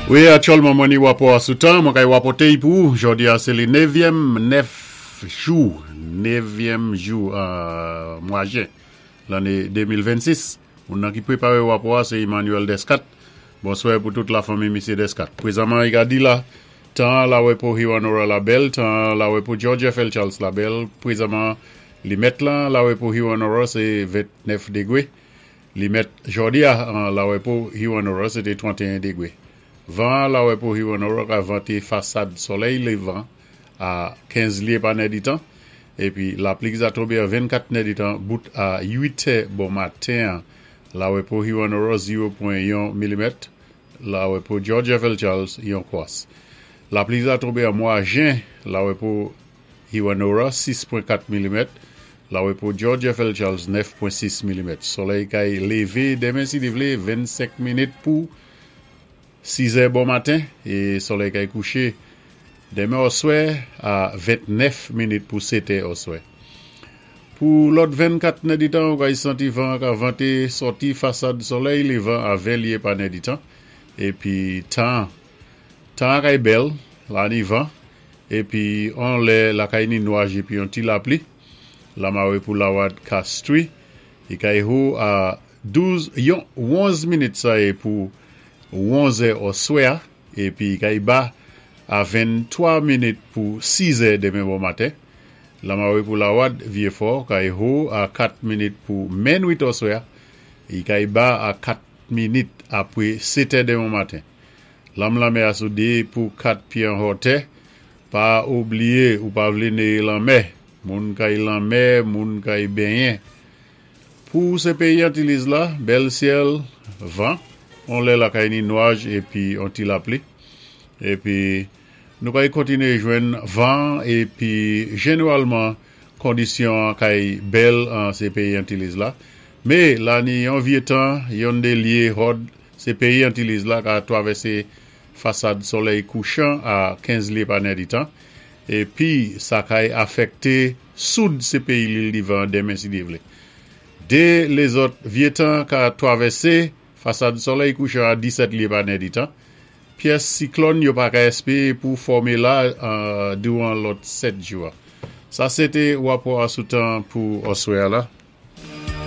Wi, aktyèlman mwen ni wapò a sou tan, mwen kay wapòté-y pou ou. Jòdi a sé li nevyèm, 9, jou, nevyèm jou mwa jen lanné 2026. Moun nan ki pweparé wapò a sé Emmanuel Descat. Bonswè pou tout lafanmi misyé Descat. Pwezanman i ka di la, tan an lawè pou Hewanorra la bèl, tan an lawè pou George FL Charles la bèl. Pwezanman li mèt lan lawè pou Hewanorra sé 29 degwé. Li mèt jòdi a an lawè pou Hewanorra se te 31 degre. Van an lawè pou Hewanorra ka vante fasad solèy levan a 15 lye pa nèditan, epi lapli ki za tonbe an 24 nèditan bout a 8 tè bon maten an lawè pou Hewanorra 0.1 milimèt, lawè pou George FL Charles yon kwas. Lapli ki za tonbe an mwa jen lawè pou Hewanorra, 6.4 milimèt, Lawepo George FL Charles, 9.6 milimèt. Solèy kay leve demen si Dye vle 25 minit pou 6 è bon maten e solèy kay kouche demen oswè a 29 minit pou 7 è oswè. Pou lòt 24 nèditan ou kay santi van an ka vante sòti fasad solèy levan a 20 lye pa nèditan epi tan tan an kay bèl la ni van Epi on lè lakay ni nwaj epi on ti lapli, lamare pou lawad Castri, i kay ho a 12, yon, wonz minit sa ye pou wonzè oswè a, epi i kay ba a 23 minit pou sizè demen bon maten, lamare pou lawad Vyefò kay ho a 4 minit pou menwit oswè a, i kay ba a 4 minit apre setè demen maten. Lanm lanmè a sou 2 pou 4 pye an hòtè, pa oubliye ou pa vle neye lanmè, moun kay lanmè, moun kay benyen. Pou se peyi Antiliz la, bèl syèl, van, on lè lakay ni nwaj epi on ti lapli. Epi nou kay kontinye jwenn van epi jeneralman kondisyon an kay bèl an se peyi Antiliz la. Me la ni yon vye tan, yonn de lye hòd Se peyi Antiliz la ka twavèse fasad solèy kouchan a 15 lye pa nèditan, epi sa kay afèkte soud se peyi Lil Divan an denmen si Dye vle. De lezòt vye tan ka twavèse fasad solèy kouchan a 17 lye pa nèditan. Pyès siklòn yo pa ka espere pou fòme la douran lòt 7 jou a. Sa se te rapò a sou tan pou oswè a la.